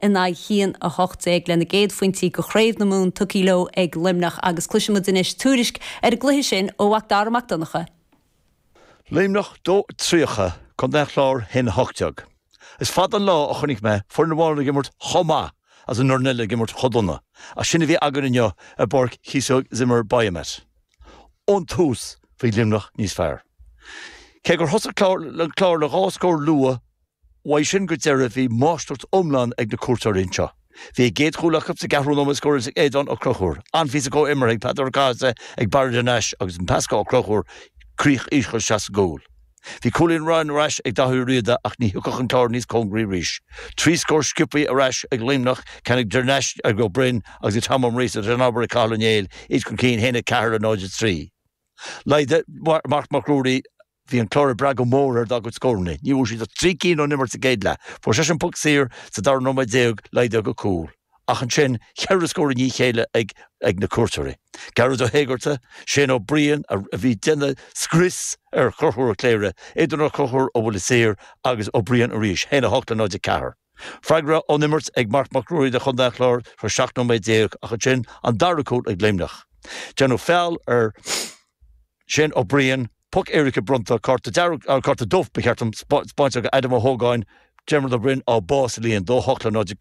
In aghaidh 1-18 lena gcéad phointí go Chraobh na Mumhan tugtha leo ag Luimneach agus cloisfidh muid anois tuairisc ar an gcluiche sin ó Mhac Dara Mac Donncha. Luimneach 2 30, Contae an Chláir 1-18. Is fada an lá a chonaic mé foireann amháin ag imirt chomh maith agus an fhoireann eile ag imirt chomh dona, ach sin a bhí againn inniu i bPáirc Chíosóg Zimmer Biomet. Ón tús bhí Luimneach níos fearr. Cé gur thosaigh an Clár le dhá scór luath, Uaidh sin go deireadh bhí máistreacht iomlán ag na cuairteoirí anseo. Bhí a gcéad chúl acu sa gceathrú nóiméad scóráilte ag Aodán Ó Conchúir. An-phíosa comhimeartha ag Peadar Ó Cathasaigh ag Barry de Nais agus an pas go Ó Conchúir críoch íseal isteach sa gcúl. Bhí cúilín amháin ar ais ag Daithí Ó Riada ach ní thiocfadh an Clár níos cóngaraí arís. 3 scór sciobtha ar ais ag Luimneach, ceann ag de Nais, ag Ó Broin agus ag Tom Ó Muiríosa agus an obair ag Cathal Ó Néill, iad chun cinn 1-4 le 0-3. Laghdaigh Marc Mac Ruairí Bhí an Clár ag brath go mór ar dá gcuid scóranna. Ní bhfuair siad ach 3 cinn ón imirt sa gcéad leath. Fuair seisean poc saor sa dara nóiméad déag, laghdaithe go cúl. Ach ansin, cheithre scór i ndiaidh a chéile ag ag na cuairteoirí. Gearóid Ó hÉigeartaigh, Shane Ó Briain, a bhí ag déanamh scrios ar Chonchúr Ó Cléirigh, Aodán Ó Conchúir ó bhuille saor agus Ó Briain arís, 1-8 le 0-4. Freagra ón imirt ag Marc Mac Ruairí do chontae an Chláir tar éis 17 nóiméad ach ansin an dara cúl ag Luimneach. Déanadh feall ar Shane Ó Briain, poc éirice bronnta, cárta dearg, cárta dubh ba cheart dom, spáinte ag Adam Ó hÓgáin, Diarmuid Ó Broin á bá sa líon, 2 8 le 0.